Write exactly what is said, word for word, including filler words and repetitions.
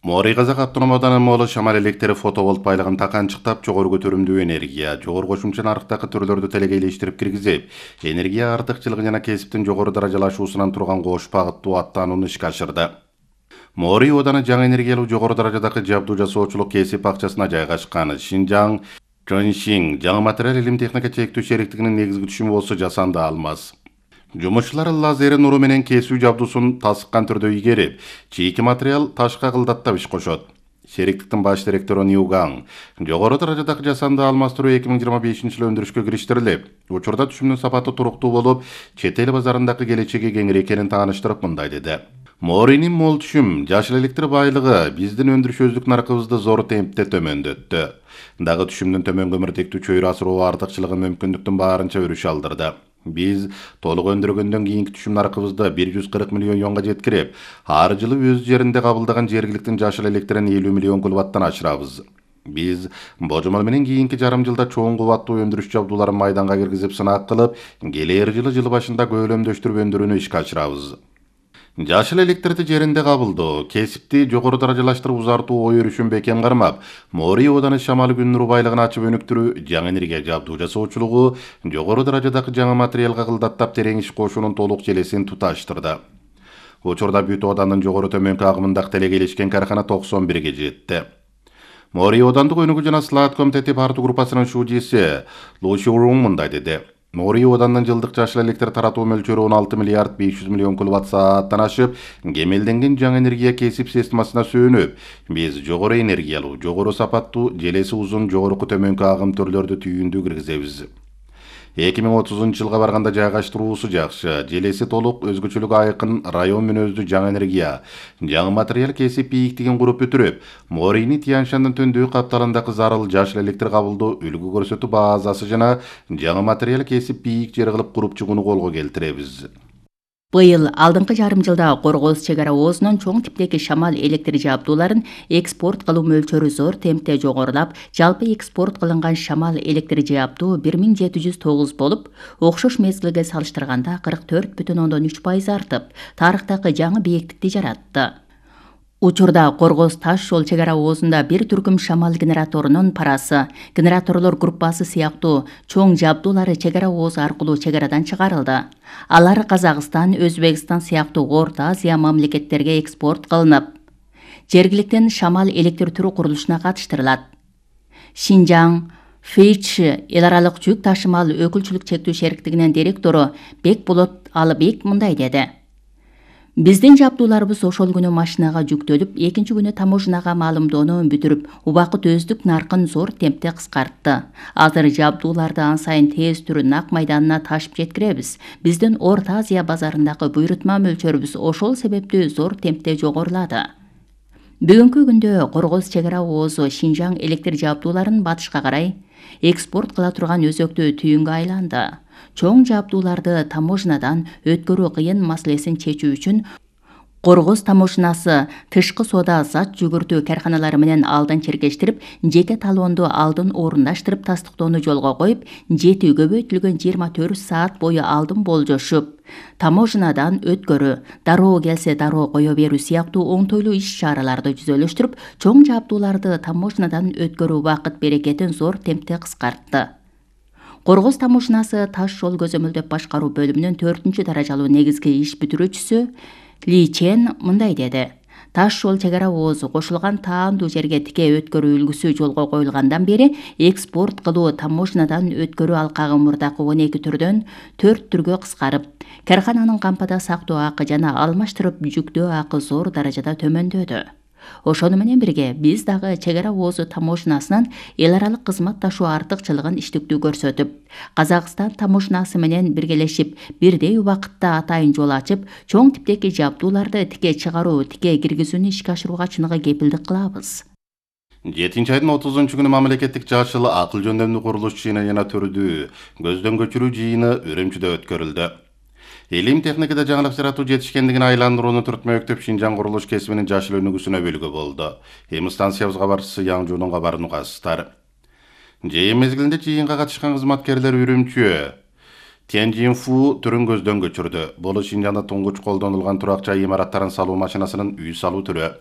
Моорий Казак автономдук ауданынын молу шамал электри фотоволт байлыгын таканчыктап, жогору көтөрүмдүү энергия, жогору кошумча нарыктагы түрлөрдү телегейлештирип киргизип, энергия артыкчылыгы жана кесиптин жогору даражалашуусунан турган кош багыттуу аттанууну ишке ашырды. Моорий ооданы жаңы энергиялуу жогору даражадагы жабдуу жасоочулук кесип бакчасына жайгашкан. Шинжаң Чоншин жаңы материал илим техника чектүү шериктигинин негизги түшүмү болсо жасанды алмаз. Жумушчулар лазер нуру менен кесүү жабдуусун тасыккан түрдө ийгерип, чийки материал ташка кылдаттап иш кошот. Шериктиктин баш директору Ньюгаң жогору даражадагы жасанды алмаштыруу эки миң жыйырма бешинчи жылы өндүрүшкө кириштирилип, учурда түшүмдүн сапаты туруктуу болуп, чет эл базарындагы келечеги кеңири экенин тааныштырып мындай деди. Моорийнин мол түшүм, жашыл электр байлыгы биздин өндүрүш наркыбызды зор темпте төмөндөттү. Дагы түшүмдүн төмөн көмүртектүү чөйрө асыруу артыкчылыгы мүмкүндүктүн баарынча өрүш алдырды. Биз толук өндүргөндөн кийинки түшүм наркыбызды бир жүз кырк миллион юанга жеткирип, ар жылы өз жеринде кабылдаган жергиликтин жашыл электрин элүү миллион киловаттан ашырабыз. Биз божомол менен кийинки жарым жылда чоң кубаттуу өндүрүш жабдууларын майданга киргизип сынак кылып, келер жылы жыл башында көөлөмдөштүрүп өндүрүүнү ишке ашырабыз. Жашыл электрди жеринде кабылдоо, кесипти жогору даражалаштырып узартуу ой өрүшүн бекем кармап, Моорий ооданы шамал күн нуру байлыгын ачып өнүктүрүү, жаңы энергия жабдуу жасоочулугу, жогору даражадагы жаңы материалга кылдаттап терең иш кошуунун толук желесин туташтырды. Учурда бүт оодандын жогору төмөнкү агымындагы телегейлешкен каркана токсон бирге жетти. Моорий оодандык өнүгүү жана слаат комитети партия группасынын шужиси Лу Шурун мындай деди. Моорий оодандын жылдык жашыл электр таратуу мөлчөрү он алты миллиард беш жүз миллион киловатт сааттан ашып, кемелденген жаңы энергия кесип системасына сүйөнүп, биз жогору энергиялуу, жогору сапаттуу, желеси узун, жогорку төмөнкү агым түрлөрдү түйүндүү киргизебиз. эки миң отузунчу жылга барганда жайгаштыруусу жакшы, желеси толук, өзгөчөлүгү айкын, район мүнөздүү жаңы энергия, жаңы материал кесип бийиктигин куруп бүтүрүп, Моорийни Тянь-Шандын төндүү капталындагы зарыл жашыл электр кабылдоо, үлгү көрсөтүү базасы жана жаңы материал кесип бийик жер кылып куруп чыгууну колго келтиребиз. Быйыл алдыңкы жарым жылда Коргоз чек ара оозунун чоң типтеги шамал электр жабдууларын экспорт кылуу мөлчөрү зор темпте жогорулап, жалпы экспорт кылынган шамал электр жабдуу бир миң жети жүз тогуз болуп, окшош мезгилге салыштырганда кырк төрт бүтүн ондон үч пайыз артып, тарыхтагы жаңы бийиктикти жаратты. Учурда Коргоз таш жол чек ара оозунда бир түркүм шамал генераторунун парасы, генераторлор группасы сыяктуу чоң жабдуулары чек ара оозу аркылуу чек арадан чыгарылды. Алар Казакстан, Өзбекстан сыяктуу Орто Азия мамлекеттерге экспорт кылынып, жергиликтен шамал электр түрү курулушуна катыштырылат. Шинжаң Фейч эл аралык жүк ташымал өкүлчүлүк чектүү шериктигинин директору Бекболот Алыбек мындай деди. Биздин жабдууларыбыз ошол күнү машинага жүктөлүп, экинчи күнү таможнага маалымдоону бүтүрүп, убакыт өздүк наркын зор темпте кыскартты. Азыр жабдууларды ан сайын тез түрүн ак майданына ташып жеткиребиз. Биздин Орто Азия базарындагы буйрутма мөлчөрүбүз ошол себептүү зор темпте жогорулады. Бүгүнкү күндө Коргоз чек ара оозу Шинжаң электр жабдууларын батышка карай экспорт кыла турган өзөктүү түйүнгө айланды. Чоң жабдууларды таможнадан өткөрүү кыйын маселесин чечүү үчүн Коргоз таможнасы тышкы соода зат жүгүртүү карканалары менен алдын чиркештирип, жеке талоонду алдын орундаштырып тастыктоону жолго коюп, жети көбөйтүлгөн жыйырма төрт саат бою алдын болжошуп, таможнадан өткөрүү, дароо келсе дароо кое берүү сыяктуу оңтойлуу иш-чараларды жүзөлөштүрүп, чоң жабдууларды таможнадан өткөрүү убакыт берекетин зор темпте кыскартты. Коргоз таможнасы таш жол көзөмөлдөп башкаруу бөлүмүнүн төртүнчү даражалуу негизги иш бүтүрүүчүсү Ли Чен мындай деди. Таш жол чек ара оозу кошулган таандуу жерге тике өткөрүү үлгүсү жолго коюлгандан бери экспорт кылуу таможнадан өткөрүү алкагы мурдакы он эки түрдөн төрт түргө кыскарып, каркананын кампада сактоо акы жана алмаштырып жүктөө акы зор даражада төмөндөдү. Ошону менен бирге биз дагы чек ара оозу таможнасынын эл аралык кызматташуу артыкчылыгын иштиктүү көрсөтүп, Казакстан таможнасы менен биргелешип, бирдей убакытта атайын жол ачып, чоң типтеги жабдууларды тике чыгаруу, тике киргизүүнү ишке ашырууга чыныгы кепилдик кылабыз. жетинчи айдын отузунчу күнү мамлекеттик жашыл акыл жөндөмдүү курулуш жыйыны жана түрдүү көздөн көчүрүү жыйыны Үрүмчүдө өткөрүлдү. Илим техникада жаңылык жаратуу жетишкендигин айландырууну түртмөктөп Шинжаң курулуш кесибинин жашыл өнүгүүсүнө үлгү болду. Эми станциябыз кабарчысы Яңжуунун кабарын угасыздар. Жыйын мезгилинде жыйынга катышкан кызматкерлер Үрүмчү Тяньжинфу түрүн көздөн көчүрдү. Бул Шинжаңда туңгуч колдонулган турак жай имараттарын салуу машинасынын үй салуу түрү.